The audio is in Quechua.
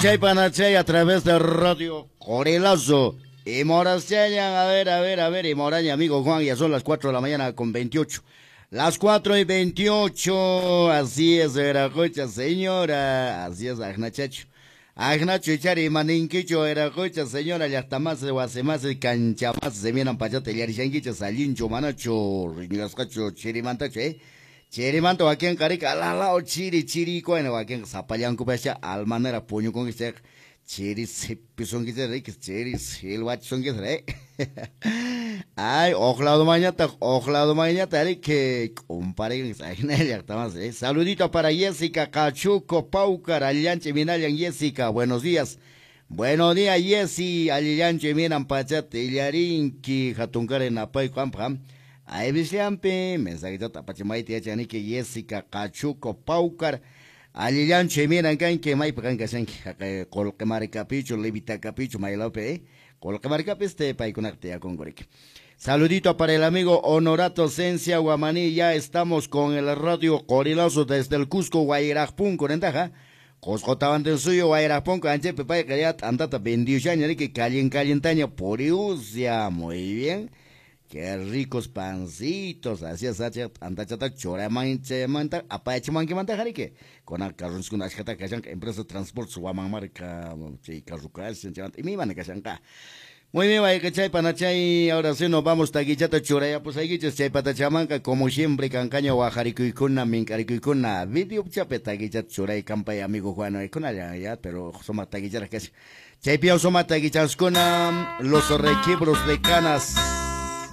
Chay panachay a través de Radio Corelazo. Y Moraseña, a ver, a ver, a ver, y Moraña, amigo Juan, ya son las 4 de la mañana con 28. Las 4:28, así es, Veracocha, señora, así es, Agnachacho. Agnacho, chari, maninquicho, Veracocha, señora, llaqtamás, wasimás, canchamás, se miran pachate, yarishanquicho, salincho, manacho, riñascacho, chirimantacho, Chirimanta wakin qarika alalao chiri chiri kuayna wakin sapallankupacha almanera puñukunki chayqa chiri sipisunkichis riki chiri silwachisunkichis ay oqladumanñataq oqladumanñataq riki k'umparikunkichis ajina llaqtamas Saludito para Jessica Cachuco Paucar, allillancha minallan Jessica, buenos días. Buenos días Jessy, allillancha minan pachata illarinki hatunkari napayku ampaq. Ahí bisliampi, mensajito tapachimayti yachaniki Jessica Cachuco Paucar, allillancho miran kanki maypi kan kashanki haqay qullqi markapichu Levitakapichu maylawpi qullqi markapi este paykunaqa tiyakunkuriki. Saludito para el amigo Honorato Cencia Guamaní, ya estamos con el Radio Corilazo desde el Cusco, Guairajpunco, ¿nentaja? Cusco Tawantinsuyo, Guairajpunco, anchepi payqa ya t'antata vendiyushaña riki callin callintaña puriusia, muy bien. Qué ricos pancitos, así es, antachata choramanchemanta, apachimanquimanta jarike. Con carroncuna ashkata kashanka, empresa de transporte Huamanmarca, chay carrucashan, y mi van kashanka. Muy bien, vaya chay panachay, ahora sí nos vamos taquichata churaya, pues ahí chay patachamanca, como siempre, cancaño guajaricuycuna, mincaricuycuna, video chape taquichata churay campay amigo Juan, y con allá, ya, pero soma taquichara casi. Chay piao soma taquichascuna, los requibros de canas.